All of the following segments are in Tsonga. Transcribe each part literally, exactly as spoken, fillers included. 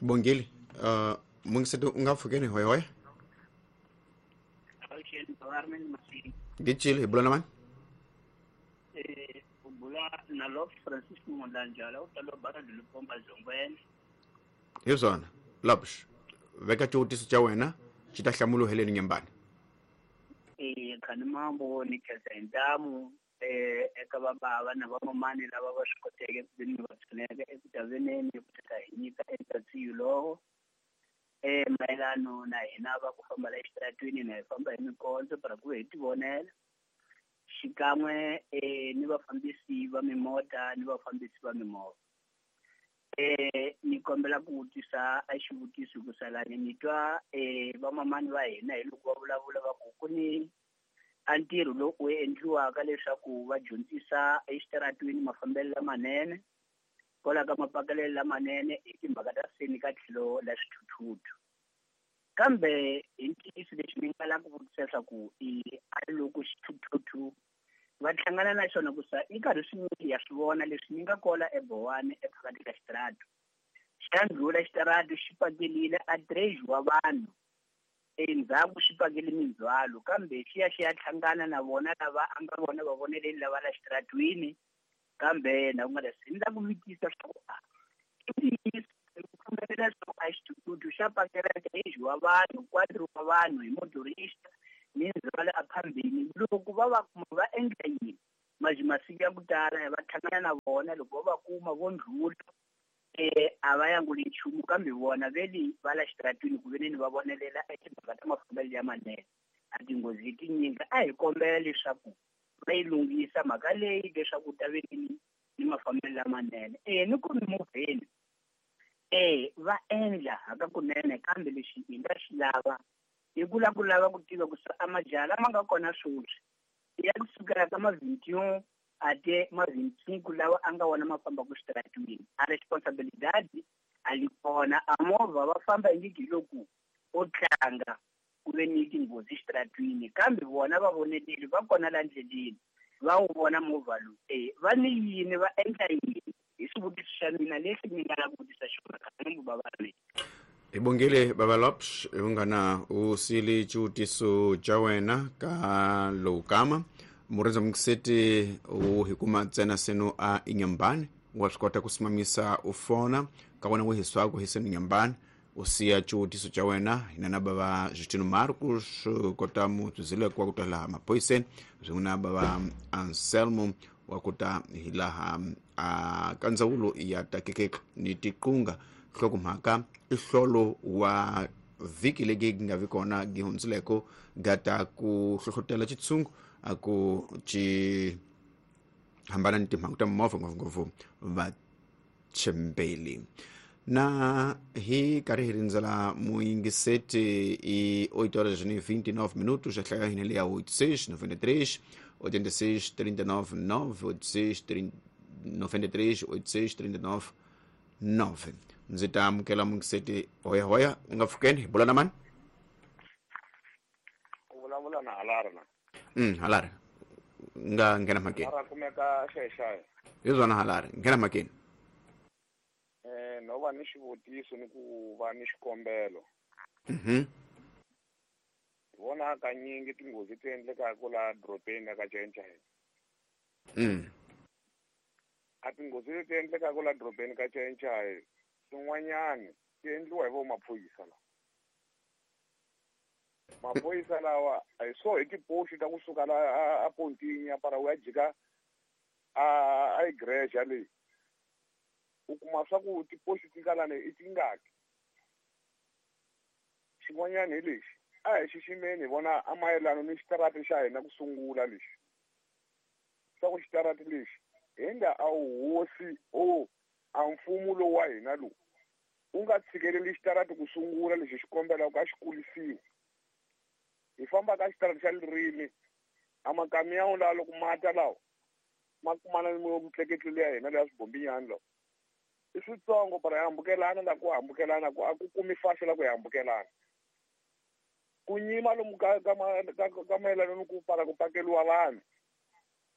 Bongile uh mungiseti u nga pfukeni hoyhoya. Gicile hi bula na mani? Eh u bula na Lop Francis Mondlanjala u ta lo bara Lupomba Zongweni. Hi swona Lopsh veka xivutiso xa wena xi ta hlamulo heleni Nyembani. Eh khani mambo ni khensa hi ntamu eh eka vabava na vamamani lava va swi koteke ku veni va pfuneka eku taveneni ku ta hi nyika eka lowo eh mayelano na hina va ku famba la exitaratweni na hi famba hi mikondzo para ku hi tivonela xikan'we eh ni vafambisi va mimota ni vafambisi va mimovha. Eh ni kombela ku vutisa a xivutiso ku salani ni twa eh vamamani va hina hi loko va vulavula va ku ku ni a ntirho lowu wu endliwaka leswaku va dyondzisa exitaratweni mafambelo lamanene kwala ka mapakelelo lamanene hi timhaka ta seni ka tlhelo la swithuthuthu. Kambe hi ntiyiso lexi ni nga lava ku vutisa leswaku i a loko xithuthuthu va hlangana na xona ku sa i karhi swinyingi ya swi vona leswi ni nga kola eBowani ephakathi ka xitaratu xa ndlhula xitaratu xi pakelile a três wa vanhu endzhaku xi pakele mindzhwalo kambe xi ya xi ya hlangana na vona lava a nga vona va voneleni lava la xitaratwini kambe na ku nga se ni la ku vutisa leswaku a i ntiyiso ku pfumelela leswaku a xithuthuthu xa pakela três wa vanhu quatro wa vanhu hi motorista ni ndzhwalo a phambeni loko va va kuma va endla yini maji masiku ya ku tala va hlangana na vona loko va va kuma vo ndlhula eh a va yanguli nchumu kambe vona veli va la xitaratwini ku veneni va vonelela etimhaka ta mafambelo ya manene a tinghozi tinyingi a hi kombela leswaku va yi lunghisa mhaka leyi leswaku ta veneni ni mafambelo lamanene eh ni ku mimovheni eh va endla hakakunene kambe lexi hi nga xi lava hi ku lava ku lava ku tiva ku a majaha lama nga kona sweswi ya kusukela ka ma vingt-et-un ate ma vingt-cinq lawa a nga wona ma fambaka xitaratwini a responsabilidade a li kona a movha va famba ingi loko o tlanga ku ve ni tinghozi xitaratwini kambe vona va voneleli va kona la ndleleni va wu vona movha lowu eh va ni yini va endla yini hi xivutiso xa mina lexi ni nga lava ku vutisa xona kambe bava mina. Hi bongile baba Lopsh ungana u sili xivutiso xa wena ka lowu kama murindza mungiseti u hi kuma ntsena seno a Inyambani wa swi kota ku simamisa u fona ka wena wu hiswaku hi seno Inyambani u siya xivutiso xa wena hina na bava Justino Marcos kota mutsuzile kwa ku ta laha maphoyiseni swin'we na bava Anselmo wa ku ta hi laha a ka ndzawulo ya takekeke ni tiqunga nhlokomhaka i hlolo wa vhiki legi nga vi kona gi hundzileko gata ku hlohlotela xitshungu a ku xi hambana ni timhangu ta mimovha ngopfungopfu vachembeli na hi karhi hi rindzela muyingiseti i oito horas e vinte e nove minutos a hlaya hina leya oito seis noventa e três oitenta e seis trinta e nove nove oito seis noventa e três oito seis trinta e nove nove. Ndzi ta amukela mungiseti hoya hoya u nga pfukeni hi bula na mani? U vulavula na Halari na. Mm Halari nga nghena mhakeni. Halari kumeka xexaya. Hi swona Halari nghena mhakeni. Eh no va ni xivutiso ni ku va ni xikombelo. Mhm. Vona kanyingi tinghozi ti endlekaka la dorobeni ka Chainchain. Mm. A tinghozi leti endlekaka la dorobeni ka Chainchain swin'wanyani ti endliwa hi vo maphorisa lawa. Maphorisa lawa a hi swo hi tipoxi ta kusuka la a Pontini ya para u ya jika a a igreja leyi u kuma swa ku tipoxi ti nga lani i tingaki. Xin'wanyani hi lexi a hi xiximeni hi vona a mayelana ni xitarati xa hina ku sungula lexi swa ku xitarati lexi hi nga a wu hosi o a mfumo lowu wa hina lowu u nga tshikeleli xitarati ku sungula lexi xi kombelaka a xi kulisiwa. Hi famba ka xitarati xa ririmi a makamiyawu lawa loko mata lawa ma kumana ni mitleketlo leya hina leya swibombinyani lawa i switsongo para hi hambukelana la ku hambukelana ku a ku kumi faxo la ku hi hambukelana ku nyima lomu ka ka ka mayelana ni ku para ku pakeliwa vanhu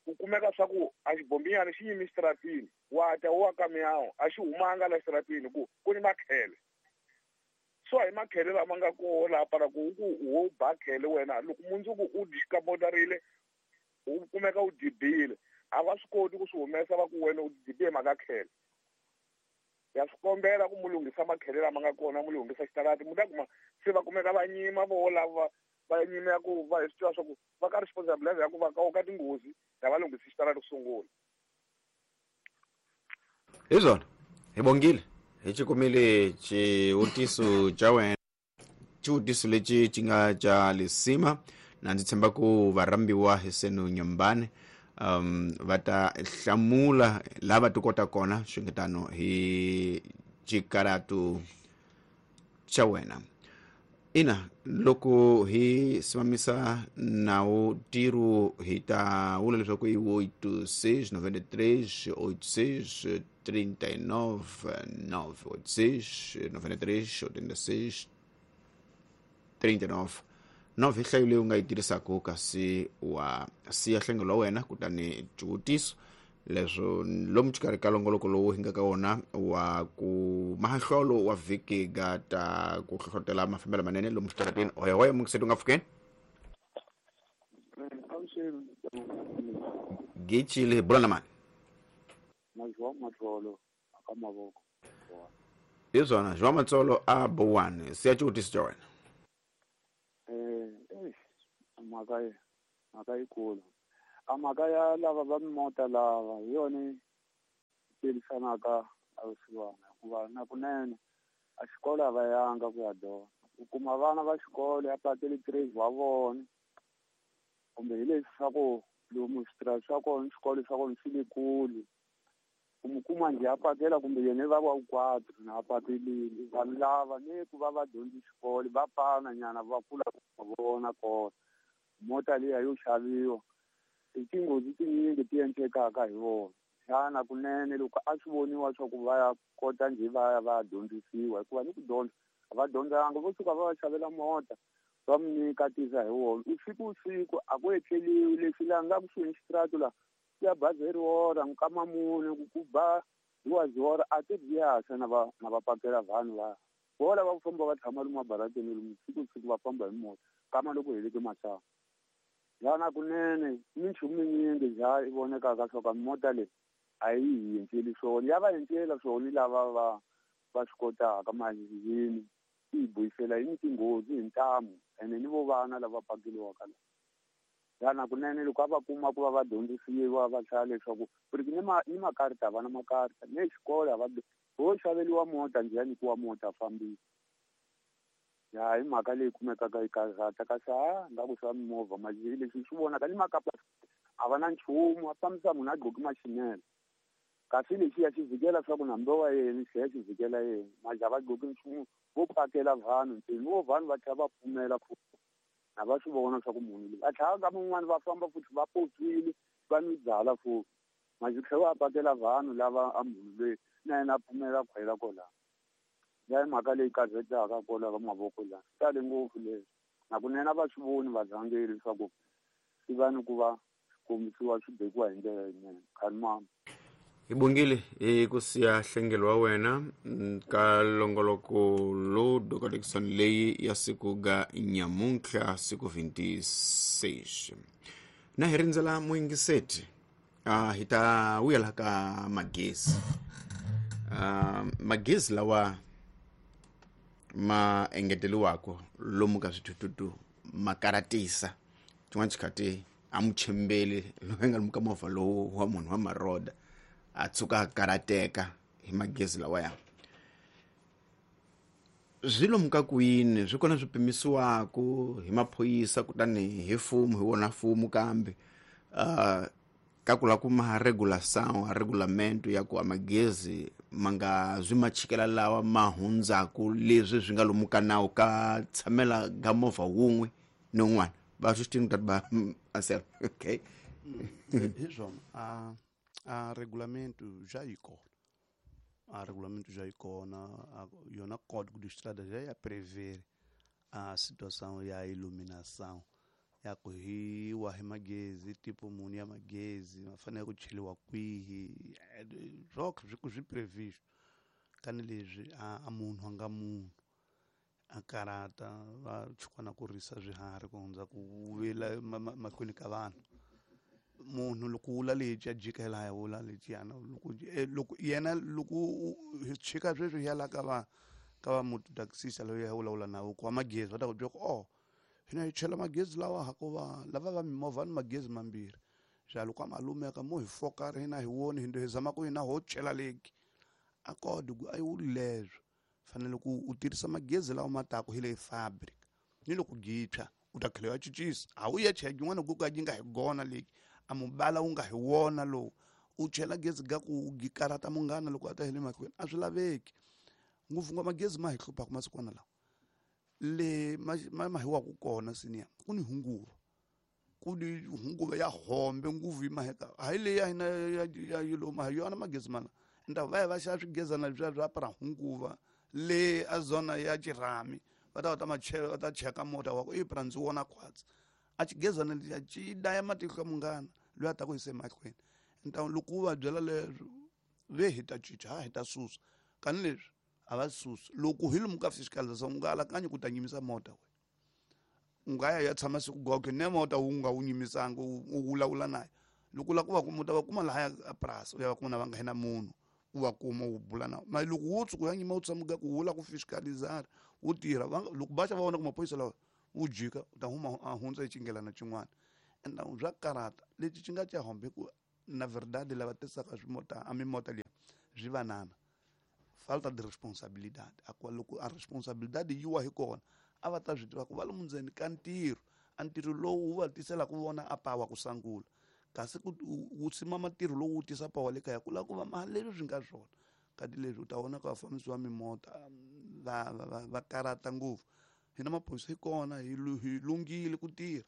ku kumeka swa ku a xibombinyana xi yimi xitaratini wa ta wa kamiyawu a xi humanga la xitaratini ku ku ni makhele. So hi makhele lama nga koho laha para ku ku wo ba khele wena loko mundzuku u dikamotarile u kumeka u dibile a va swi koti ku swi humesa va ku wena u dibe mhaka khele. Ya swi kombela ku mu lunghisa makhele lama nga kona mu lunghisa xitarati mu ta kuma se va kumeka va nyima vo lava va nyima ya ku va hi swi tiva swa ku va ka responsibility ya ku va ka ka tinghozi ya va lunghisa xitarati ku sungula. Hi swona hi bongile hi xi kumile xivutiso xa wena, xivutiso lexi xi nga xa lisima na ndzi tshemba ku varhambiwa hi senu Nyambane um va ta hlamula lava ti kota kona swingetano hi xikaratu xa wena. Ina loko hi simamisa nawu ntirho hi ta vula leswaku i oito seis noventa e três oito seis trinta e nove nove oito seis noventa e três oitenta e seis trinta e nove nove hi nhlayo leyi u nga yi tirhisaka kasi wa siya nhlengelo wa wena kutani xivutiso leswo lomu xikarhi ka longoloko lowu hi nga ka wona wa ku mahahlolo wa vhiki ga ta ku hlohlotela mafambelo manene lomu xitarateni. Hoya hoya mukiseti u nga pfukeni gicile bula na mani hi swona João Matsolo a Bowani siya xivutiso xa wena. Eh mhaka mhaka yikulu a mhaka ya lava va mimota lava hi yona yi tirhisanaka a vusiwana hikuva na kunene a xikolo a va yanga ku ya dyondza u kuma vana va xikolo ya pateli trade wa vona kumbe hi leswi swa ku lomu switirasi swa kona xikolo swa kona swi le kule u mu kuma njhe a pakela kumbe yena va va quatro na a pakelile vanhu lava ni ku va va dyondzi xikolo va pana nyana va kula ku vona kona mota liya yo xaviwa i tinghozi tinyingi ti endlekaka hi vona xana kunene loko a swi voniwa swa ku va ya kota njhe va ya va ya dyondzisiwa hikuva ni ku dyondza a va dyondzanga vo suka va va xavela mota va mu nyika tisa hi wona usiku usiku a ku etleliwi leswi laha nga kusuhi ni xitiratu laha ku ya ba zero hora nkama mune ku ku ba duas hora a ti biyasa na va na va pakela vanhu va vo lava ku famba va tshama lomu mabarateni lomu siku siku va famba hi mota kama loko heleke masangu lana kunene minchumu minyingi za yi vonekaka swa ka mota leyi a yi hi endleli swona ya va endlela swona lava va va swi kotaka mali yini yi buyisela yi ni tinghozi hi ntamu ene ni vo vana lava pakeliwaka la lana kunene loko a va kuma ku va va dyondzisiwa va hlaya leswaku ku ri ni ma ni makarita va na makarita ni xikolo a va ho xaveliwa mota njhe ya nyikiwa mota fambisa ya hi mhaka leyi kumekaka yi karhata kasi ha nga ku swa mimovha mali leswi swi vonaka ni makapa a va na nchumu a fambisa munhu a gqoki maxinele kasi lexiya xi vhikela swa ku na mbe wa yena xiya xi vhikela yena maja va gqoki nchumu vo pakela vanhu ntsena vo vanhu va tlhela va pfumela ku na va swi vona swa ku munhu loyi a tlhela ka mun'wani va famba futhi va potswile va nwi byala futhi maje tlhela va pakela vanhu lava a munhu loyi na yena a pfumela khwela kwalaho ya hi mhaka leyi karhataka kwala ka mavoko laha swi tale ngopfu leswi nakunene a va swi voni varhangeri leswaku swi va ni ku va swi kombisiwa swi bekiwa hi ndlela yinene khani. Hi bongile hi ku siya nhlengelo wa wena ka longoloko lowu dokodekisano leyi ya siku ga nyamuntlha siku vinte e seis na hi rindzela muyingiseti uh, hi ta vuyela ka magezi uh, magezi lawa ma engeteliwako lomu ka swithuthuthu ma karatisa xin'wana xikhathi a mu chembeli loyi nga lomu ka movha lowu wa munhu wa maroda a tshuka a karateka hi magezi lawaya swi lomu ka kwini swi kona swi pimisiwaku hi maphorisa kutani hi mfumo hi wona mfumo kambe uh, ka ku lava ku ma regulação a regulamento ya ku a magezi ma nga zwi machikela lawa ma hundzaku leswi swi nga lomu ka nawu ka tshamela ga movha wun'we ni wun'wana va swi swi tati ba asel okay. Hi swona a a regulamento já yi kona a regulamento já yi kona yona código de estrada já ia prever a situação ya iluminação ya ku hi wahi magezi tipo muni ya magezi ma fanele ku cheliwa kwihi swokhe swi ku swi previsto kani leswi a, a munhu a nga munhu A karata va chukwana ku risa swiharhi ku hundza ku vila mahlweni ka vanhu. Munhu loko wula lexi a jika laha wula lexiyana loko loko yena loko hi chika sweswi hi ya la ka va ka va mototaxista loyi a vulavula na ku wa magezi va ta ku byela ku oh hina hi chela magezi lawa hakuva lava va mimovha ni magezi mambirhi xa loko a malumeka mo hi fokara hina hi woni hi hi zama ku hina ho chela leki a kodi ku a yi wuli leswo fanele ku u tirhisa magezi lawa ma taku hi le fabric ni loko gitshwa u ta tlhela ya cincisa a wu ya chela yin'wana ku ka yi nga hi gona leki a mubala wu nga hi wona lowu u chela gezi ga ku gikarata munghana loko a ta hi le mahlweni a swi laveki ngopfu ngopfu magezi ma hi hluphaka masikwana lawa le ma ma hi waku kona senior ku ni hunguva ku ni hunguva ya hombe nguvu yi maheka hayi leyi ya hina ya yilo ma yona magezi mana nda va ya va xava swigezana leswiya swa para hunguva le a zona ya xirhami va ta va ta machela va ta cheka mota wa ku i pra ndzi wona khwatsi a xigezana lexiya xi daya matihlo ya munghana loyi a ta ku yise mahlweni nta loko u va byela leswo ve hi ta cinca ha hi ta susa kani leswi a va susi loko hi lomu ka fiscalização u nga alakanyi ku ta nyimisa mota we u nga ya ya tshama siku goge ne mota wu nga wu nyimisanga u vulavula naye loko u lava ku va kuma u ta va kuma lahaya a purasi u ya va kuma na va nga hina munhu u va kuma u bula na ma loko wo tshuka u ya nyima u tshama ku wu lava ku fiscalizar wu tirha loko va xa va vona ku maphorisa lawa wu jika u ta huma a hundza hi xinghelana xin'wana ende bya karata lexi xi nga xa hombe ku na verdade lava tisaka swimota a mimota liya swi vanana falta de responsabilidade a ku loko a responsabilidade yi wa hi kona a va ta swi tiva ku va lomu ndzeni ka ntirho a ntirho lowu wu va tisela ku vona a pawa ku sangula kasi ku wu simama ntirho lowu wu tisa pawa le kaya ku lava ku va ma leswi swi nga swona kati leswi u ta vona ku vafambisi va mimota va va va karata ngopfu hina maphorisa hi kona hi hi lunghile ku tirha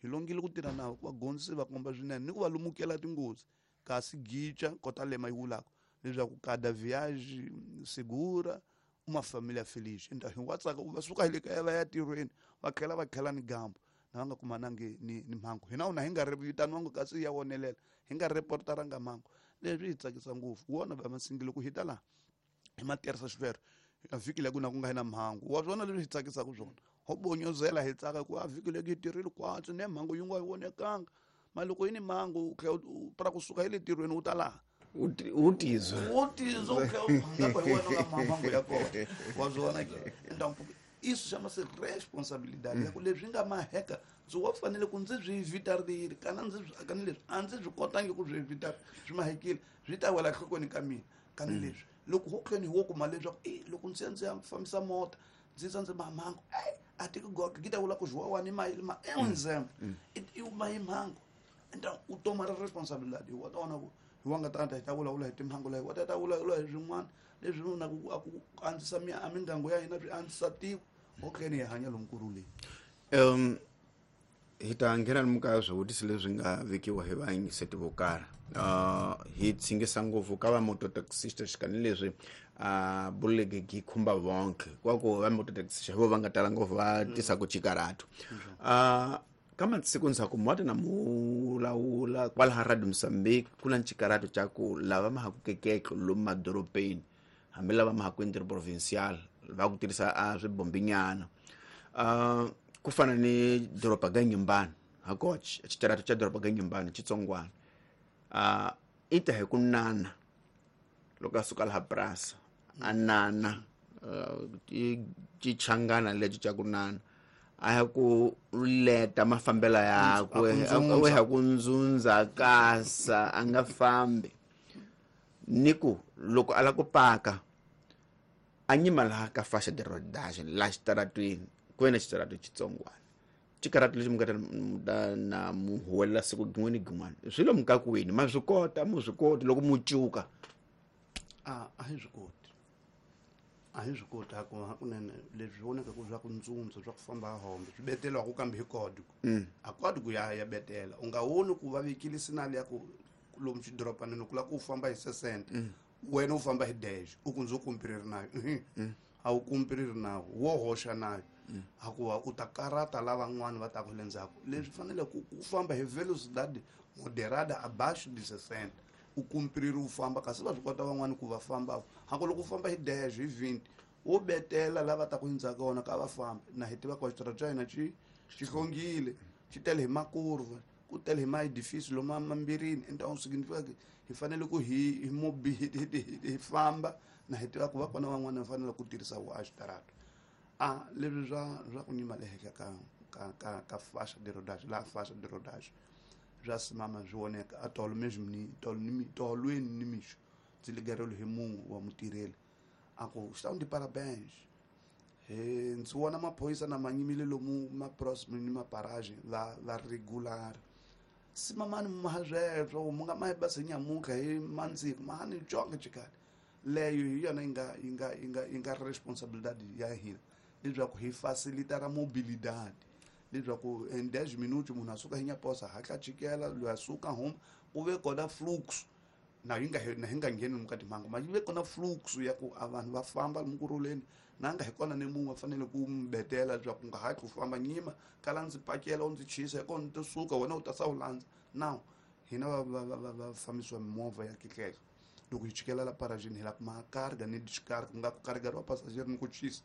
hi lunghile ku tirha navo ku va gondzisi va komba swinene ni ku va lumukela tinghozi kasi gica kota lema yi vulaka leswaku cada viagem segura uma família feliz então hi wa tsaka va suka hi le kaya va ya tirhweni va tlhela va tlhela ni gambo na va nga kumanangi ni ni mhangu hina una hi nga ri vitaniwangi kasi ya wonelela hi nga reportaranga mhangu leswi hi tsakisa ngopfu wona va masingile ku hi ta laha hi ma tirhisa xivero a vhiki leyi ku na ku nga hi na mhangu wa swona leswi hi tsakisaka swona ho bonyozela hi tsaka ku a vhiki leyi hi tirhile kwatsi ne mhangu yi nga yi vonekanga ma loko yi ni mhangu u tlhela u pra kusuka hi le tirhweni u ta laha u tizwa u tizwa u tlhela u hi wena nga mhangu ya kona wa swona ke então isso chama-se responsabilidade ya ku leswi nga maheka ndzi wa fanele ku ndzi swi evitarile kana ndzi kani leswi a ndzi swi kotangi ku swi evita swi mahekile swi ta wela enhlokweni ka mina kani leswi loko ho tlheni hi wo kuma leswaku e loko ndzi ya ndzi ya fambisa mota ndzi tsa ndzi mamhangu e a tiki goge ki ta vula ku zwiwawani ma ma é um exemplo i ma hi mhangu então u toma responsabilidade hi wa ta vona ku hi wa nga ta ta hi ta vulavula hi timhangu laha hi wa ta ta vulavula hi swin'wana leswi na ku ku andzisa a mindyangu ya hina swi andzisa tiko ho tlheni hi hanya lomu kurhuleni um hi ta nghena lomu ka swivutiso leswi nga vekiwa hi vayingiseti vo karhi uh hi tsingisa ngopfu ka va mototaxista xikani leswi a buleke gi khumba vonke kwa ku va mototaxista vo va nga tala ngopfu va tisa ku chikarato uh ka masiku ndzhaku mu wa ta na mu lawula kwalaha Radio Mozambique ku na ncikarato ca ku lava ma ha ku kekeke lomu madorobeni hambi lava ma ha ku interprovincial va ku tirhisa a swibombinyana uh ku fana ni doroba ga Nyimbani hakoch xitarato xa doroba ga Nyimbani xitsongwana uh i ta hi ku nana loko a suka laha purasi a nana i xichangana lexi xa ku nana a ya ku leta mafambelo yakwe a ya ku ndzundza kasa a nga fambi ni ku loko a lava ku paka a nyima laha ka fasha de rodage laha xitaratweni ku ve na xitarato xitsongwana xikaratu lexi mi nga ta na mu huwelela siku gin'we ni gin'wana swi lomu ka kwini ma swi kota mu swi koti loko mu cuka a a hi swi koti a hi swi koti hakunene leswi vonaka ku swa ku ndzundza swa ku famba hombe swi betelwaku kambe hi código a código ya ya betela u nga voni ku va vekile sinali ya ku lomu xidorobanini ku lava ku u famba hi sesente wena u famba hi dash u ku ndzi kumpiriri nayo a wu kumpiriri nawo wo hoxa nayo hakuva u ta karata lavan'wana va taku le ndzhaku leswi fanele ku ku famba hi velocidade moderada abaixo de sessenta u kumpiriri u famba kasi va swi kota van'wani ku va famba haku loko u famba hi dash hi vinte Wo betela lava ta ku hundza kona ka va famba na hi tiva ku xitarata xa hina xi xi hlongile xi tele hi makurva ku tele hi maedifisi loma mambirini então significa que hi fanele ku hi hi mobi hi famba na hi tiva ku va kona van'wana va fanele ku tirhisa wo a xitarata a leswi swa swa ku nyima le henhla ka ka ka ka faixa de rodagem la faixa de rodagem swa simama swi voneka a tolo mesmo ni tolo ni tolweni ni mixo ndzi ligerelo hi munhu wa mutirheli a ku estão de parabéns eh ndzi vona maphorisa na manyimile lomu ma próximo ni maparagem la la regular simamani mahazweswo mu nga mahi basi nyamuka hi mandziko mahani jonge chikali leyo hi yona yi nga yi nga yi nga yi nga responsabilidade ya hina leswaku hi facilitar a mobilidade leswaku em dez minutos munhu a suka hi nyaposa hatla chikela loyi a suka huma ku ve kona fluxo na yi nga na hi nga ngheni lomu ka timhangu ma yi ve kona fluxo ya ku a vanhu va famba lomu kurhuleni na nga hi kona ni munhu a fanele ku mi betela leswaku u nga hatli u famba nyima kala ndzi pakela u ndzi chisa hi kona ni to suka wena u ta sa u landza now hina va va va va fambisiwa mimovha ya kekeke loko hi chikela la paragini hi la kuma carga ni descarga ku nga ku carregariwa passageiro ni ku chisa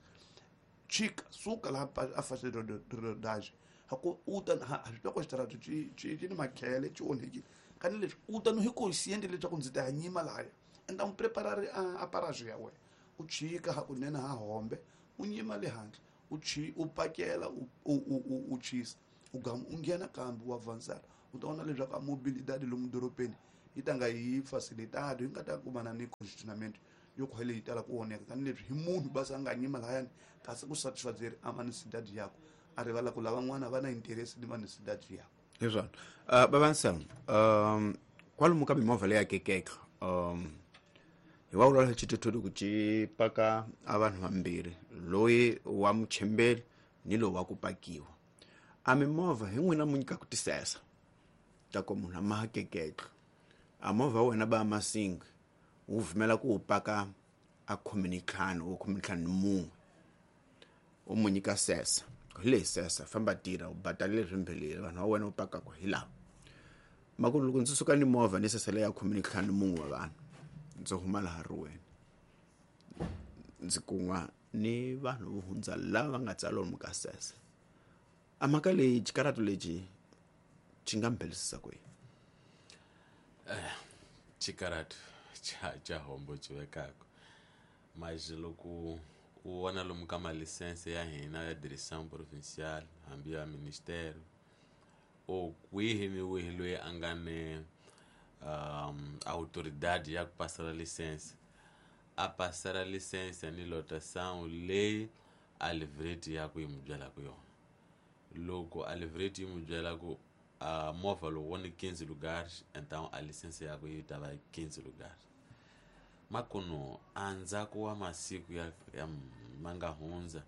chika suka laha a faixa de rodagem ha ku u ta ha swi tiva ku xitarata xi xi xi ni makhele xi onhekile kani leswi u ta no hi consciente leswaku ndzi ta ya nyima lahaya enda u preparar a paragem ya wena u chika hakunene ha hombe u nyima le handle u chi u pakela u u u chisa u gama u nghena kambe u avançar u ta vona leswaku a mobilidade lomu dorobeni yi ta nga yi facilitado yi nga ta kumana ni congestionamento yo khwele yi tala ku onheka tani leswi hi munhu basa a nga nyima lahayani kasi ku satisfazer a manisidadi yakwe a rivala ku lavan'wana va na interest ni manisidadi yakwe hi swona uh, bavanselmo um kwalomu ka mimovha leyi akekeka um hi wa vulavula xithuthuthu ku ci paka a vanhu vambirhi loyi wa muchembeli ni lowu wa ku pakiwa a mimovha hi n'wina mu nyikaka tisesa ta ku munhu a ma keketla a movha wa wena ba masingi wu vumela ku wu paka a khume ni ntlhanu o khume ntlhanu ni mun'we u mu nyika sesa hi leyi sesa famba tirha u badalile swimbhelile vanhu va wena u pakaka hi lava maku loko ndzi suka ni movha ni sesa leyi ya khume ni ntlhanu ni mun'we wa vanhu ndzi huma laha riweni ndzi kun'wa ni vanhu vo hundza lava va nga tsala lomu ka sesa a mhaka leyi xikaratu lexi xi nga mbhelisisa kwihi eh xikaratu xa xa hombo xi vekaka mas loko u vona lomu ka malisense ya hina ya direção provincial hambi ya ministério o kwihi ni wihi loyi a nga ni um autoridade ya ku pasela lisense a pasela lisense ni lotação leyi a livreti ya ku yi mu byelaka yona loko a livreti yi mu byela ku a movha lowu wo ni quinze lugares então a lisense ya ku yi ta va quinze lugares makuno andzhaku wa masiku ya, ya ma nga hundza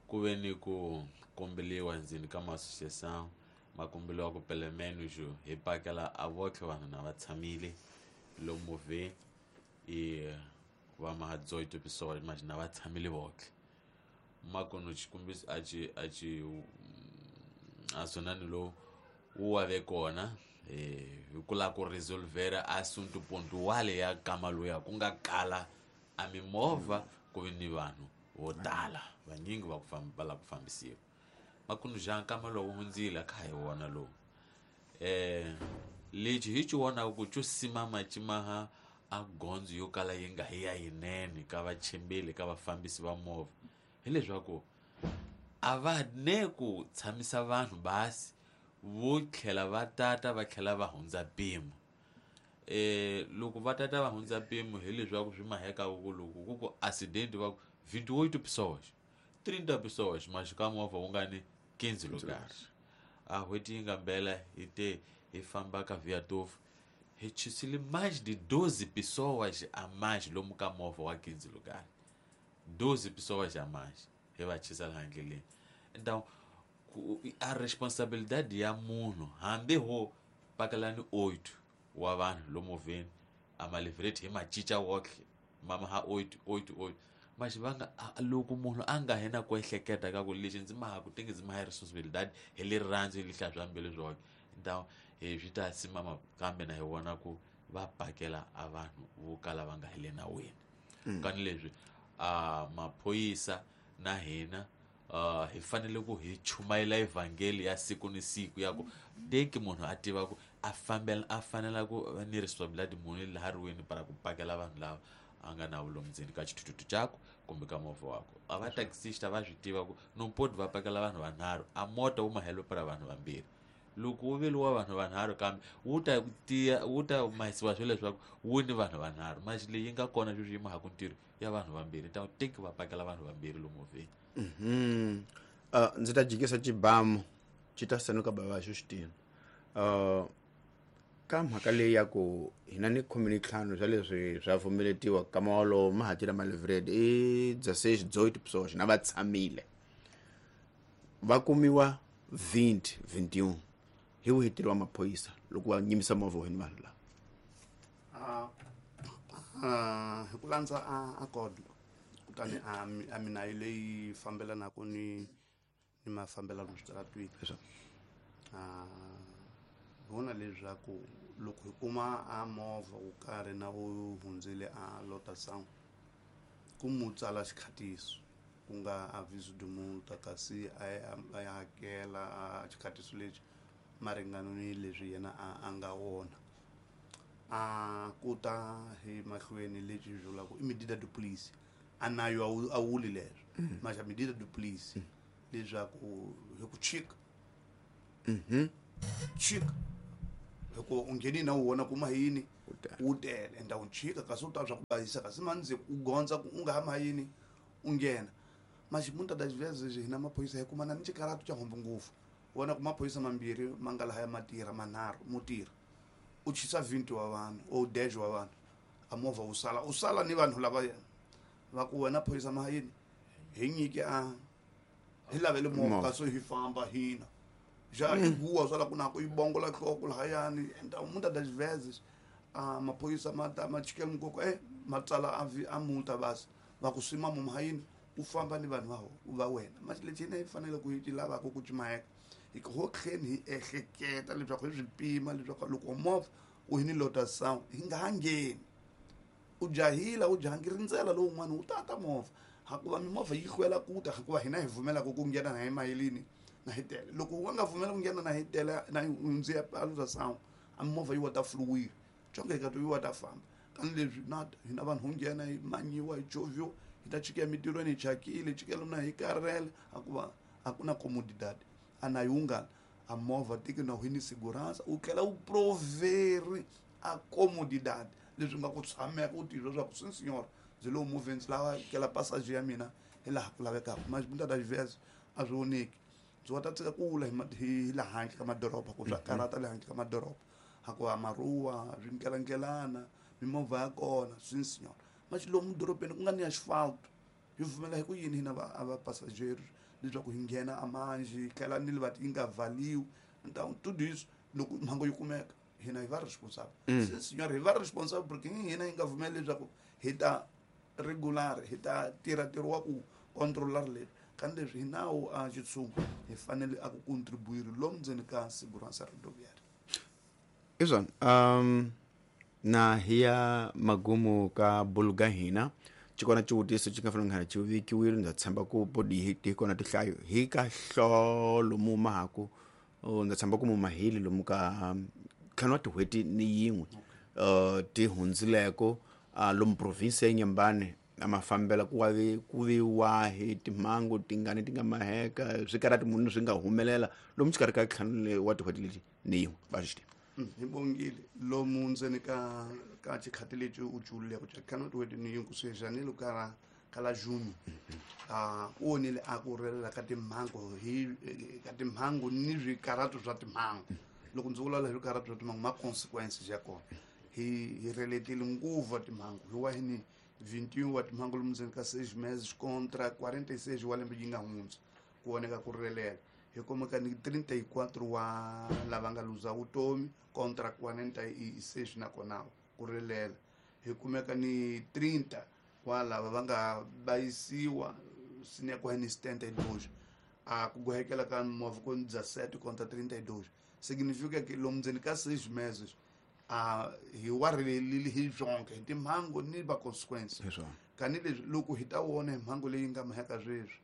ku ve ni ku kombeliwa ndzeni ka ma-associação ma kombeliwa ku pelo menos hi pakela a votlhe vanhu na va tshamile lomu movheni e va ma dezoito pessoas mas na va tshamile votlhe makuno xikombiso a xi a xi a swonani lowu wu wa ve kona eh hi ku lava ku resolvera assunto pontual ya kama loya ku nga kala a mimovha ku ve ni vanhu vo tala vanyingi va ku famba va lava ku fambisiwa makuno ja nkama lowu hundzile kha hi wona lowu eh lexi hi xi vonaka ku xo simama ximaha a gondzo yo kala yi nga hi ya yinene ka vachembeli ka vafambisi va movha hileswaku a va ne ku tshamisa vanhu basi vo tlhela va tata va tlhela va hundza mpimo eh loko va tata va hundza mpimo hileswaku swi maheka ku loko ku ku accident va ku vinte e oito pessoas trinta pessoas mas ka movha wu nga ni quinze lugares a n'hweti yi nga mbela hi te hi famba ka viatofu hi chisile mais de doze pessoas a mais lomu ka movha wa quinze lugares doze pessoas a mais hi va chisa laha ndleleni então a responsabilidade ya munhu hambi ho pakelani oito wa vanhu lomu movheni a malivreti hi macinca wotlhe mama ha oito oito oito mas va nga loko munhu a nga hina ku ehleketa ka ku lexi ndzi maha ku tenge ndzi maha responsabilidade hi rirhandzu hi lihla bya mbilu byoke então hi swi ta simama kambe na hi vona ku va pakela a vanhu vo kala va nga hi le nawini kani leswi a maphorisa na hina uh hi fanele ku hi chumayela evhangeli ya siku ni siku ya ku teki munhu a tiva ku a fambela a fanela ku ni responsibility munhu laha riweni para ku pakela vanhu lava a nga na vulomu ndzeni ka xithuthuthu xakwe kumbe ka movha wakwe. A va taxista va swi tiva ku no poti va pakela vanhu vanharhu a mota wu mahelo para vanhu vambirhi. Loko wu veliwa vanhu vanharhu kambe wu ta tiya wu ta mahisiwa swilo leswaku wu ni vanhu vanharhu manje leyi nga kona sweswi yi mahaku ntirho ya vanhu vambirhi ta teki va pakela vanhu vambirhi lomu movheni. Mhm. Uh, ndzi ta jikisa xibamu xi ta sanuka bava xo xitina. Uh, ka mhaka leyi ya ku hina ni khume ni ntlhanu swa leswi swa pfumeletiwa ka mawolowo ma hatila malivred i dezesseis dezoito pessoas na va tshamile va kumiwa vinte vinte e um hi wihi ntirho wa maphorisa loko va nyimisa movha wa vanhu lava? Ah, hi ku landza a code kutani a a minayo leyi fambelanaka ni ni mafambelano switaratwini. Ah, vona leswaku loko hi kuma a movha wo karhi na wu hundzile a lotação ku mu tsala xikhatiso ku nga aviso de multa kasi a ya hakela a xikhatiso lexi maringano ni leswi yena a a nga wona. A ku ta hi mahlweni lexi vulaka i medida de police a nayo a wuli leswo maxa medida de police leswaku hi ku chika mhm chika hikuva u ngheni na wona kuma yini wu tele enda u chika kasi u ta swa ku bayisa kasi mandzi u gondza ku u nga ha mayini u nghena maxi muita das vezes hina maphorisa hi kumana ni xikaratu xa hombo ngopfu wona ku maphorisa mambirhi ma nga lahaya ma tirha manharhu mo tirha u chisa vinte wa vanhu o dez wa vanhu a movha wu sala u sala ni vanhu lava va ku wena phorisa ma yini hi nyike a hi lavele movha kasi hi famba hina já iguwa swa la ku na ku yi bongola nhloko lahayani enda muita das vezes a maphorisa ma ta ma chikela mukoko eh ma tsala a a multa basi va ku sima mu hayini u famba ni vanhu va va wena manje lexi hina hi fanele ku hi lavaka ku cumayeka hi ku ho tlheni hi ehleketa leswaku hi swi pima leswaku loko movha u hi ni lotação hi nga ha ngheni u jahila u jahangi rindzela lowun'wana wu tata movha hakuva mimovha yi hlwela ku ta hikuva hina hi pfumelaka ku nghena na hi mayelini na hi tele loko u nga pfumela ku nghena na hi tele na hundzi ya lotação a mimovha yi wa ta fluwile conke hi ka to yi wa ta famba kani leswi na hina vanhu ho nghena hi manyiwa hi chovhiwa hi ta chika emitirhweni hi chakile chikela na hi karhele hakuva a ku na comodidade a na yungana a movha tiki na hini segurança u tlhela u proveri a comodidade leswi nga ku tshameka u tiva leswaku sim senhor ndzi lowu movheni ndzi lava kela passage ya mina hi laha ku lavekaka mas muita das vezes a swi voneki ndzi wa ta tsika ku wula hi laha handle ka madoroba ku swa karhata le handle ka madoroba hakuva maruwa swinkelankelana mimovha ya kona sim senhor mas lomu dorobeni ku nga ni asfalto hi pfumela hi ku yini hina va a va passageiro leswaku hi nghena amanji hi tlhela ni le va yi nga valiwi então tudo isso loko mhangu yi kumeka hina hi va responsable sim senhor hi va responsable porque hina hi nga pfumeli leswaku hi ta regular hi ta tirha ntirho wa ku controlar leswi kani leswi hi nawu a xitshungu hi fanele a ku contribuir lomu ndzeni ka segurança rodoviária. Izwan um na hiya magumu ka buluga hina xikona xivutiso xi nga fanele nga xi vekiwile ndza tshemba ku podi hi ti kona tinhlayo hi ka hlolo mu mahaku ndza tshemba ku mu mahili lomu ka ntlhanu wa tin'hweti ni yin'we uh ti hundzileko lomu province ya Inhambane a ma fambela ku wavi ku vi wahi timhangu tingani ti nga maheka swikarati munhu swi nga humelela lomu xikarhi ka ntlhanu wa tin'hweti leti ni yin'we va xi hi bongile lomu ndzeni ka ka xikhati lexi u cululeko xa ntlhanu wa tin'hweti ni yin'we kusuhi janeiro ka ka la junho a ku vonile a ku relela ka timhangu hi ka timhangu ni swikarhato swa timhangu loko ndzi vulavula hi swikarhato swa timhangu ma consequences ya kona hi hi reletile nguva timhangu hi wa hi ni vinte e um wa timhangu lomu ndzeni ka seis meses contra quarenta e seis wa lembe yi nga hundza ku voneka ku relela hi kumeka ni trinta e quatro wa lava nga luza vutomi contra quarenta e seis nakona ku relela hi kumeka ni trinta wa lava va nga bayisiwa sinekwa ni setenta e dois a ku gohekela ka movha ku dezessete contra trinta e dois significa que lomu ndzeni ka seis meses a hi wa relelile hi byonke hi timhangu ni va consequence Kani leswi loko hi ta vona hi mhangu leyi nga maheka sweswi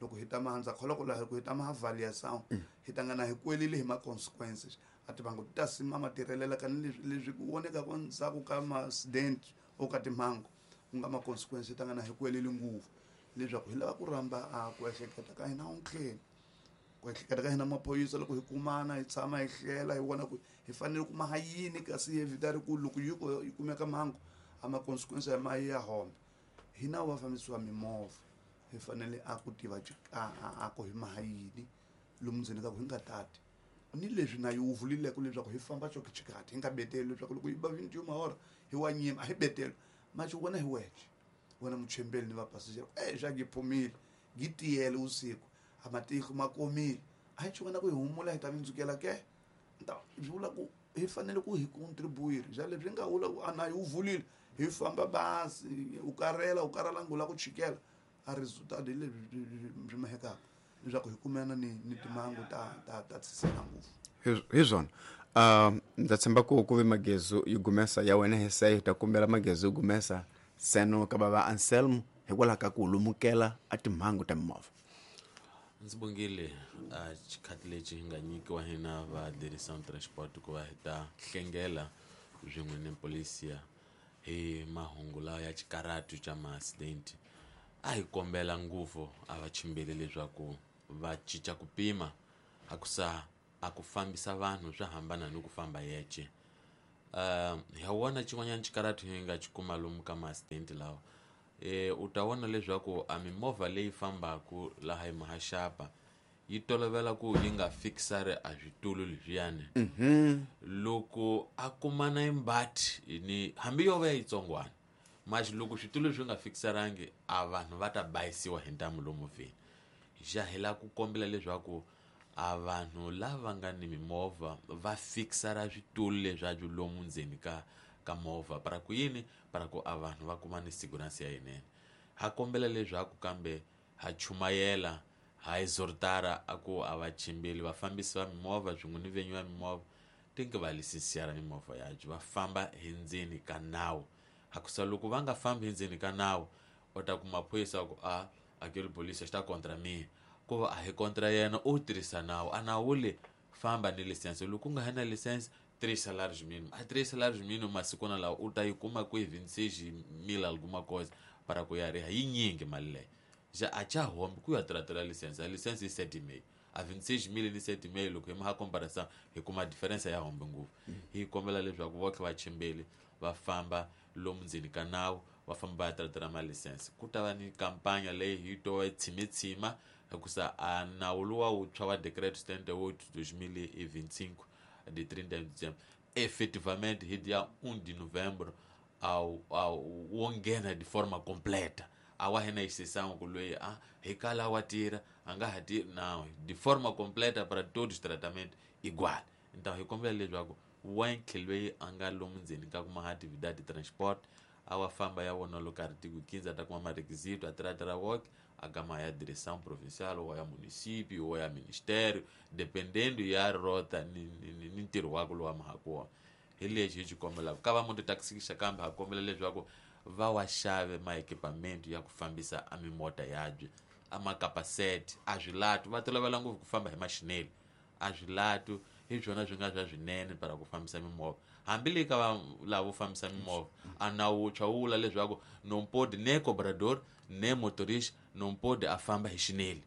loko hi ta mahandza kholoko laha loko hi ta maavaliação hi ta ngana hi kwelile hi ma-consequences a timhangu ti ta sima ma tirhelela kani leswi leswi ku vonekaka ndzhaku ka ma-accident o ka timhangu ku nga ma-consequences hi ta ngana hi kwelile ngopfu leswaku hi lava ku rhamba a ku ehleketa ka hina ontlheni ku ehleketa ka hina maphorisa loko hi kumana hi tshama hi hlela hi vona ku hi fanele ku maha yini kasi hi evitari ku loko yi ko yi kumeka mhangu a ma-consequences ya ma ya hombe hina va fambisiwa mimovha hi fanele a ku tiva a ku hi maha yini lomu ndzeni ka ku hi nga tati ni leswi na yi wu vulileke leswaku hi famba xokixikati hi nga beteli leswaku loko yi ba vinte mahora hi wa nyima a hi beteli maxi wena hi wexe wena muchembeli ni vapasajero e xa gi phumile gi tiyele usiku a matihlo ma komile a hi xi wena ku hi humula hi ta vindzukela ke ta swi vula ku hi fanele ku hi contribuire xa leswi nga vula ku a na yi wu vulile hi famba basi u karela u karhala ngula ku chikela a resultado hi leswi swi mahekaka leswaku hi kumana ni ni timhangu ta ta ta tshisela ngopfu hi swona um ndza tshemba ku ku ve magezu yi gumesa ya wena hi se hi ta kombela magezu yi gumesa seno ka bava Anselmo hikwalaho ka ku lumukela a timhangu ta mimovha. Ndzi bongile a xikhathi lexi hi nga nyikiwa hina va Direção Transport ku va hi ta hlengela swin'we ni polisia hi mahungu lawa ya xikaratu xa ma-accident. A hi kombela ngopfu a va chimbeli leswaku va cinca ku pima a ku sa a ku fambisa vanhu swa hambana ni ku famba yexe. Uh, hi wona xin'wanyana xikaratu hi nga xi kuma lomu ka ma-accident lawa e u ta vona leswaku a mimovha leyi fambaka laha hi mahaxapa yi tolovela ku yi nga fixari a switulu leswiyani loko a kumana imbati ni hambi yo va yitsongwana maxi loko switulu swi nga fixarangi a vanhu va ta bayisiwa hi ntamu lomu movheni. Xa hi lava ku kombela leswaku a vanhu lava nga ni mimovha va fixara switulu leswaku lomu ndzeni ka ka movha para ku yini para ku a vanhu va kuma ni segurança ya yinene. Ha kombela leswaku kambe ha chumayela ha exhortara a ku a va chimbeli vafambisi va mimovha swin'we ni venyi va mimovha tinke va lisensiara mimovha yabyo va famba hi ndzeni ka nawu. Hakusa loko va nga fambi hi ndzeni ka nawu u ta kuma phorisa ku a aquele polícia está contra mim ku va a hi contra yena u tirhisa nawu a nawu le famba ni lisense loko u nga ha na lisense três salários mínimos. A três salários mínimos masikwana lawa u ta yi kuma ku hi vinte e seis mil alguma coisa para ku ya riha yinyingi mali leyi ja a cha hombi ku ya tratela lisense a lisense i sete mil a vinte e seis mil ni sete mil loko hi maha comparação hi kuma diferença ya hombi ngopfu. Hi kombela leswaku votlhe va chimbeli va famba lomu ndzeni ka nawu va famba va ya tratela malisense. Ku ta va ni kampanya leyi hi to tshimetshima hikusa a nawu luwa wuntshwa wa decreto setenta e oito dois mil e vinte e cinco de trinta de dezembro efetivamente hi dia um de novembro ao ao wo nghena de forma completa a wa hina exceção ku loyi a hi kala wa tira a nga ha tiri não de forma completa para todos os tratamentos igual. Então hi kombela leswaku wonke loyi a nga lomu ndzeni ka kuma atividade de transporte a wa famba ya vona loko artigo quinze a ta kuma marequisito a tratara woke a gama ya direção provincial ou ya município ou ya ministério dependendo ya rota ni, ni, ni ntirho wako lowu mahaka wona. Hi lexi hi xi kombelaka ka va mototaxi kambe ha kombela leswaku va wa xave ma-equipamento ya ku fambisa a mimota yabyo a makapasete a swilatu va tolovela ngopfu ku famba hi maxineli a swilatu hi swona swi nga swa swinene para ku fambisa mimovha hambi le ka va lavo fambisa mimovha a nawu wuntshwa wu vula leswaku não pode nem cobrador nem motorista não pode a famba hi xineli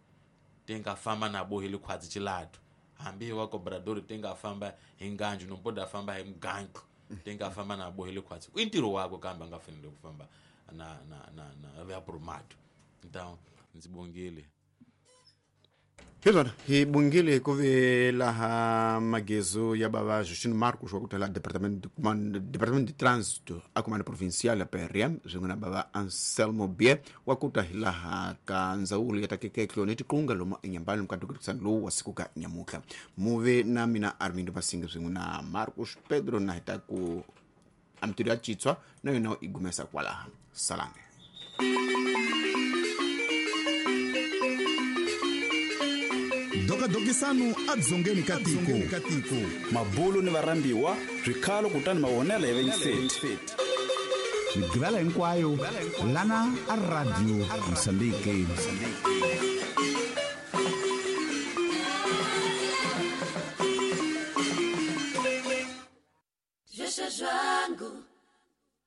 ti nga famba na bohile khwatsi xilatu hambi hi wa cobrador ti nga famba hi nganju não pode a famba hi mugantlo ti nga famba na bohile khwatsi i ntirho wakwe kambe a nga fanele ku famba na na na na va prumato. Então ndzi bongile hi swona hi bongile ku ve laha magezu ya bava Justino Marcos wa ku tala departamento departamento de trânsito a comando provincial ya P R M swin'we na bava Anselmo Bie wa ku ta hi laha ka ndzawulo ya takekeklo ni tiqunga lomu enyambani ka dukisana lowu wa siku ka nyamutlha muve na mina Armindo Masinga swin'we na Marcos Pedro na hi ta ku amtiri ya chitswa na yona i gumesa kwalaha salane. Dokadokisano adzongeni ka tiko mabulu ni varhambiwa swikhalo kutani mavonelo ya venyiseti. Migqivela hinkwayo lana a Radio Mozambique. Zveshe zvangu.